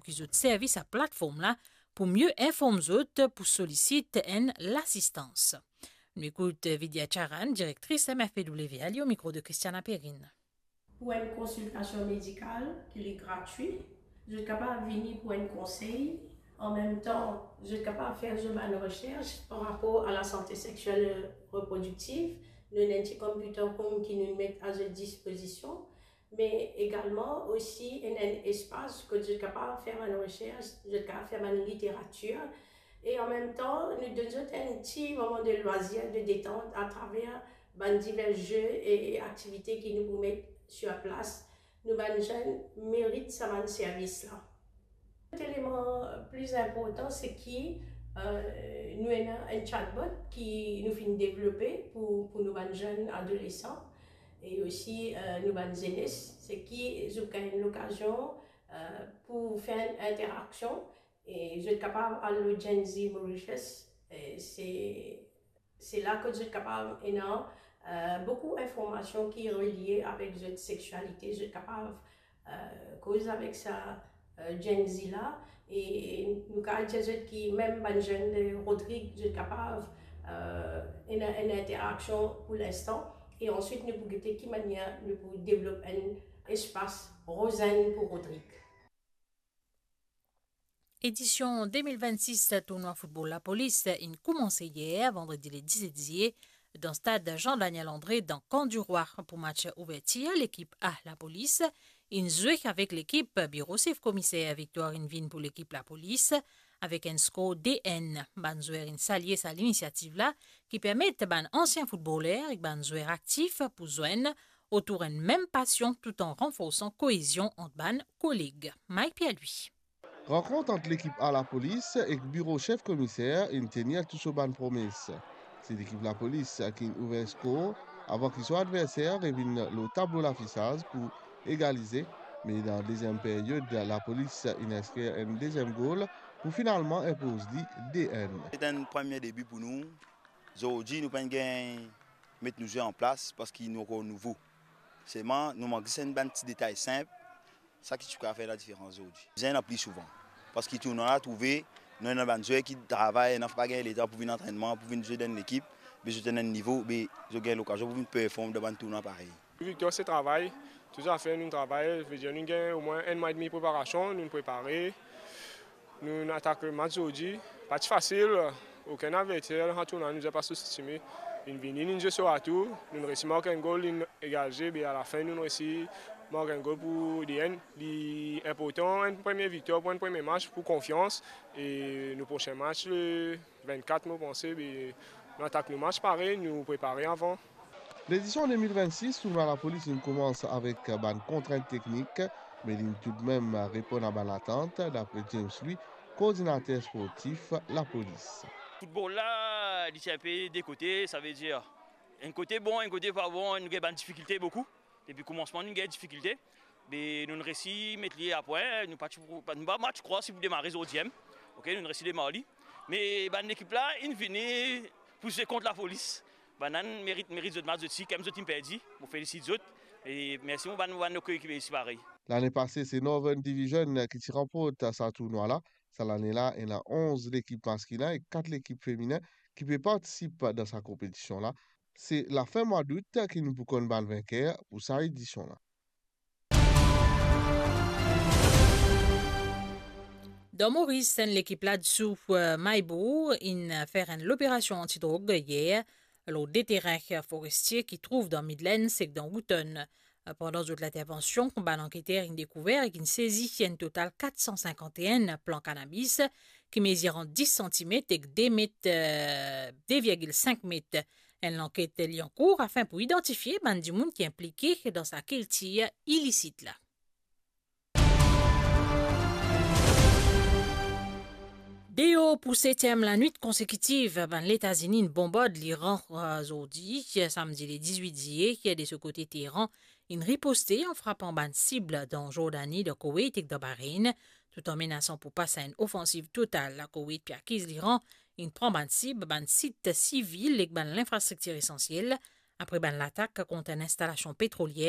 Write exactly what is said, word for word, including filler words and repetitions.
ki zot servi sa platform la pou mie inform zot pou solisit enn lasistans. Nou ekout Vidya Charan, direktris M F P W, li o mikro de Christiana Perrine. Pou enn konsiltasion medikal ki li gratwi, zot kapav vini pou enn konsey. An mem tan, zot kapav fer zot bann resers par rapor a lasante sexiel reprodiktiv. Nou ena enn ti computer room ki nou met a zot dispozision, me egalman osi ena enn espas kot zot kapav fer bann resers, zot kapav fer bann literatir. E an mem tan, nou donn zot enn ti moman de lwazir, de detant atraver bann diver ze e aktivite ki nou pou met sir plas. Nou bann zenn merit sa bann servis la. Lot eleman pli inportan, se ki, eh, nou ena enn chatbot ki nou finn devlope pou, pou nou bann zenn adolesan e osi, eh, nou bann zenes, se ki zot gagn lokazion, eh, pou fer enn interaksion e zot kapav al lor Gen Z Mauritius, e se, se la kot zot kapav ena, eh, boukou informasion ki relie avek zot sexialite, zot kapav, eh, koz avek sa, eh, Gen Z la, e nou kapav dir zot ki mem bann zenn de Rodrig, zot kapav, eh, ena enn interaksion pou linstan, e answit nou pou gete ki manier nou pou devlop enn espas Rozenn pou Rodrig. Edision de mil vennsis tournoi foutbol Lapolis inn koumanse yer, vandredi le diset ziye, dan stad Jean Daniel André, dan Camp du Roi, pou match ouvertir. Lekip A Lapolis inn zwe avek lekip Biro Sef Komiser. Viktwar inn vinn pou lekip Lapolis avek enn skor de enn. Bann zwer inn salie sa linisiativ la, ki permet bann ansien foutboler ek bann zwer aktif pou zwenn otour enn mem pasion, toutan ranforsan koezion ant bann koleg. Mike Pierre-Louis. Rankont ant lekip A Lapolis ek Biro Sef Komiser inn tenir tou so bann promes. Se lekip Lapolis ki'nn ouver skor avan ki so adverser revinn lor tablo lafisaz pou egalize, me dan deziem period, Lapolis inn inskrir enn deziem gol pou finalman inpoz li de enn. Se enn premie debi pou nou. Zordi nou pa'nn gagn met nou zwe an plas parski nou ankor nouvo. Selman nou mank zis enn bann ti detay sinp, sa ki ti kapav fer ladiferans zordi. Bizin ena pli souvan, parski tournoi la trouve nou ena bann zwer ki travay, ena pa gagn letan pou vinn antrennman, pou vinn zwe dan enn lekip, be zot ena enn nivo, be zot gagn lokazion pou vinn perform dan bann tournoi parey. Viktor se travay, tou zafer nou travay, vedir nou gagn omwin enn mwa edmi preparasion, nou prepare. Nou atak match zordi, pa ti fasil, okenn adverser, an tournoi nou pa souzestime. Inn vini, inn zwe so atou, nou resi mark enn gol, inn egalize, be alafin nou resi mark enn gol pou de enn. Li inportan, enn premie viktwar pou enn premie match, pou konfians, e nou prosin match, le vennkat, mo panse, be nou atak nou match parey, nou prepare avan. Ledision de mil vennsis tournoi Lapolis inn koumans avek bann kontrint teknik, me li'nn toudmem reponn a bann atant, dapre James Louis, koordinater sportif Lapolis. Foutbol la, li ti inpe de kote, savedir enn kote bon, enn kote pa bon, nou gagn bann difikilte boukou. Depi koumansman, nou gagn difikilte. Be nou resi met li a pwin, nou pa ti, nou pa, pa ti krwar si pou demare zordi mem. Ok, nou resi demar li. Me bann lekip la, inn vini pou zwe kont Lapolis. Bann la merit, merit zot match, zot si, kemem zot inn perdi. Mo felisit zot. E mersi mo bann, mo bann koekipie isi parey. Lane pase, se Northern Division ki ti ranport sa tournoi la. Sa lane la, ena onz lekip maskilin ek kat lekip feminin ki pe partisip dan sa konpetision la. Se lafin mwa dout ki nou pou konn bann vinker pou sa edision la. Dan Moris, enn lekip ladsou, eh, Maybour inn fer enn loperasion antidrog yer lor de terin forestie ki trouv dan Midlands ek dan Wootton. Pandan zot lintervansion, bann anketer inn dekouver ek inn sezi enn total kat san sinkant-e-enn plan kanabis ki mezir ant dis santimet ek de met, eh, de virgil sink met. Enn lanket li ankour afin pou idantifie bann dimoun ki inplike dan sa kiltir ilisit la. Deor pou setiem lanwit konsekitiv, bann Letazini inn bonbard Liran, eh, zordi, samdi le dizwit ziye, de so kote Teheran inn riposte an frapan bann sib dan Zordani, dan Koweit ek dan Bahrein, toutan menasan pou pas a enn ofansiv total. Lakoweit pe akiz Liran inn pran bann sib, bann sit sivil ek bann linfrastriktir esansiel, apre bann latak kont enn instalasion petrolier